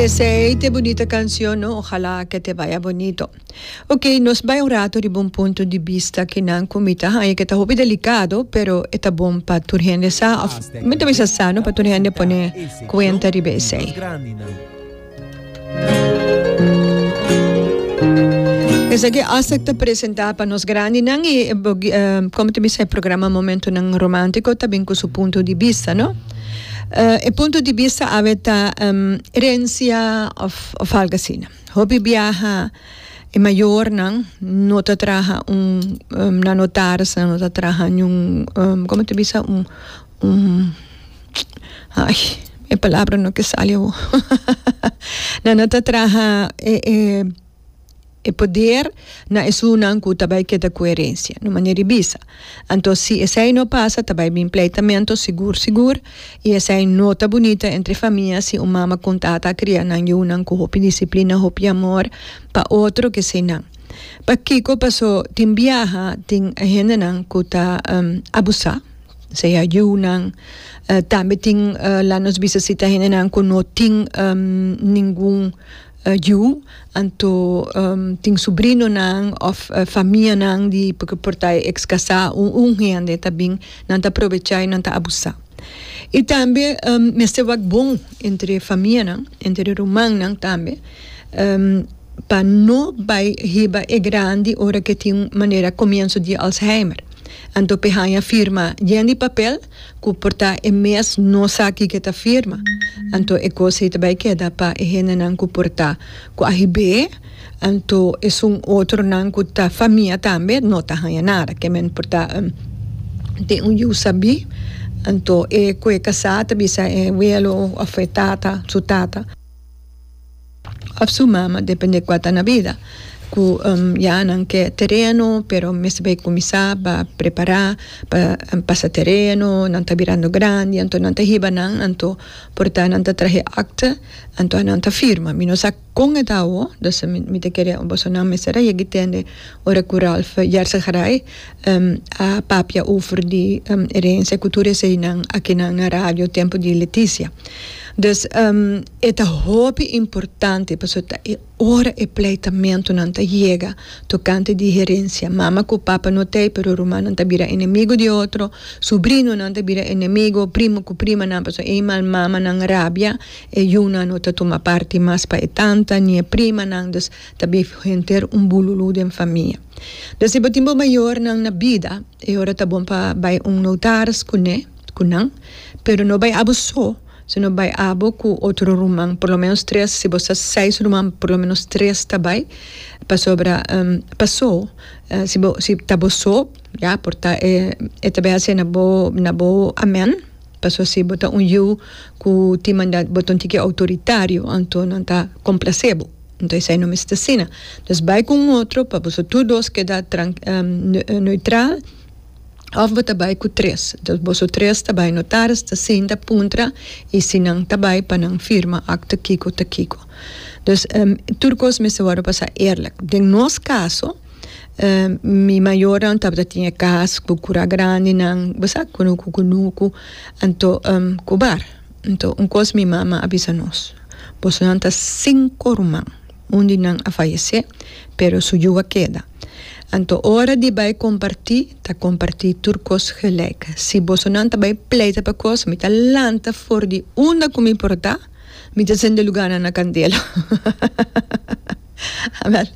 Esey te bunita cancion no ojalá que te vaya bonito. Ok nos bay un rato riba un punto di bista kinan cu mi ta haña ke ta hopi delicado pero e ta bon pa tur hende sa of mi ta bisa sa no pa tur hende pone cuenta riba esey. Esaki Aztec ta presenta pa nos grandinan y como ta bisa e programa Momentonan Romantico ta bin cu su punto di bista no. E punto di bista awe ta herencia of of algo asina. Hopi biaha e mayornan no ta traha un nan notaris nan no ta traha niun como ta bisa un un Ay, e palabra no ke sali awo. Nan no ta traha e e e poder na esunnan ku ta bai keda ku herensia, no manera di bisa. Anto si esei no pasa ta bai bin pleitamento sigur sigur i esei no ta bunita entre famia si un mama ku un tata a kria nan yunan ku hopi disiplina, hopi amor pa otro keseinan. Pakiko? Paso tin biaha tin hendenan ku ta abusá. Sea yunan, tambe tin la nos bisa si ta hendenan ku no tin ningun yu, anto tin subrinonan òf famianan di por por ta e eks kasá un un hende ta bin nan ta probechá i nan ta abusá. I tambe mester wak bon entre famianan, entre rumannan tambe. Pa no bai hiba e grandi ora ke tin manera komienso di Alzheimer. Anto p'e haña firma yen di papel ku por ta e mes no sa kiko e ta firma. Anto e kos ei ta bai keda pa e hendenan ku por ta ku a hib'é, anto esun otronan ku ta famia tambe no ta haña nada. Ke men por ta tin un yu sabí, anto e ku e kasá ta bisa e welo òf e tata, su tata. Of su mama, depende kua ta na bida, ku ya nan ke tereno, pero mester bai kuminsá pa prepará pa pasa tereno, nan ta birando grandi, anto nan ta hiba nan, anto por ta nan ta traha e akte, anto nan ta firma. Mi no sa kon e ta awo, dus mi ta kere bosonan mester a yega i tende ora ku Ralph Yersegaray a papia over di herensia ku tur eseinan akinan na radio tempu di Leticia. Dus e ta hopi importante pasobra ta e ora e pleitamentunan ta yega tokante di herensia. Mama ku papa no t'ei pero rumannan ta bira enemigo di otro, subrinonan ta bira enemigo, primo ku primanan pasobra ei mal mamanan rabia e yunan no ta tuma parti mas pa e tanta ni e primanan dus ta bin henter un bululu den famia. Dus si bo tin bo mayornan na bida e ora ta bon pa bai un notaris kuné ku nan pero no bai abo so. Sino bai abo ku otro ruman, por lo menos tres, si bo sa seis ruman, por lo menos tres ta bai, pasobra paso si bo si ta bo so, ya por ta e e ta bai hasi na bo na bo amen, paso si bo ta un yu ku tin manda bo ta un tiki outoritario, anto nan ta komplase bo, anto esei no mester asina. Dus bai ku un otro pa boso tur dos keda neutral. Of bo ta bai ku tres. Entonces boso tres ta bai notaris ta sinta puntra y si nan ta bai pa nan firma acta kiko ta kiko. Dus tur kos mester wòrdu pasá eerlijk. Den nos kaso mi mayornan tabata tin e kas ku kura grandinan bo sa kunuku kunuku anto ku bar. Anto un kos mi mama a bisa nos bosonan ta sinku ruman. Un di nan a fayesé, pero su yu a keda. Anto ora di bai kompartí, ta kompartí tur kos gelijk. Si bosonan ta bai pleita pa kos, mi ta lanta for di unda ku mi por ta, mi ta sende lugánan na kandela. Awèl,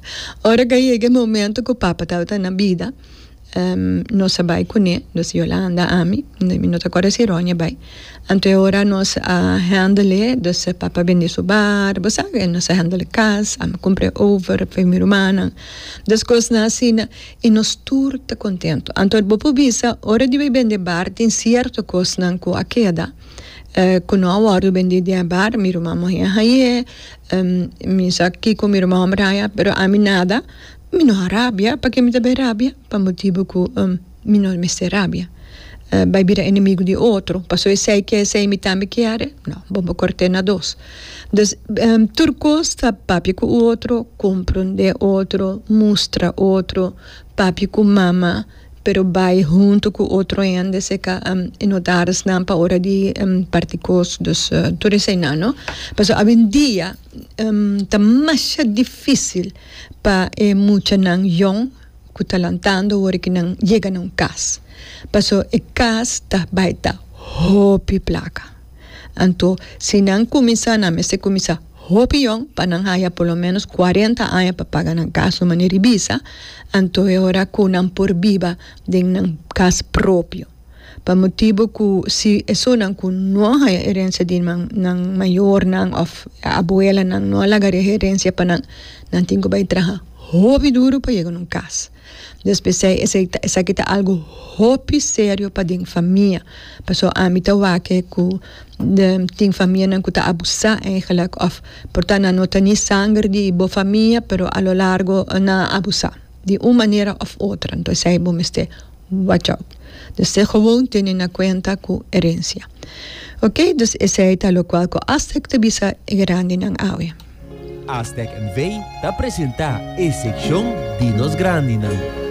ora ku a yega e momento ku papa tabata na bida, Nos a bai kuné, nos Yolanda, ami, mi no ta kòrda si Ronnie a bai. Anto e ora nos a handle, dus papa a bende su bar, bo sa, nos a handle kas, ami a kumpra e over pa mi rumannan. Dus kosnan asina, i nos tur ta kontento. Anto bo por bisa, ora di bai bende bar tin sierto kosnan ku a keda, ku no a wòrdu bendí den e bar, mi ruman muhé a hañ'é, mi sa kiko mi ruman hòmber a haña, pero ami nada. Mi no a rabia, pake mi ta bai rabia? Pa motibu ku mi no mester rabia. Bai bira enemigu di otro, pasobra esei ke esei mi tambe kier? No, bo por kort'é na dos. Dus, tur kos ta papia ku otro, komprondé otro, mustra otro, papia ku mama. pero bai hunto ku otro hende seka e notarisnan pa ora di parti kos, dus tur eseinan no. Pasobra awendia ta masha dificil pa e muchanan yong ku ta lantando ora ku nan yega na un kas, pasobra e kas ta bai ta hopi plaka. Anto si nan kuminsá nan mester kuminsá hopi yong pa nan haya por lo menos cuarenta aña pa paga nan kas un manera di bisa, anto e ora ku nan por biba den nan kas propio. Pa motibu ku si esunnan ku no a haya herensia di nan nan mayornan òf abuelanan no a laga herensia pa nan, nan tin ku bai traha hopi duru pa yega na un kas. Dus p'esei esei ta esaki ta algu hopi serio pa den famia. Pasobra ami ta wak ku tin famianan ku ta abusá eigenlijk òf por ta nan no ta ni sanger di bo famia pero a lo largo nan a abusá di un manera òf otro. Anto esei bo mester watch out. Dus te gewoon tene na kuenta ku herensia. Ok, dus esei ta lokual ku Aztec ta bisa e grandinan awe. Aztec NV ta presenta e sekshon di nos grandinan.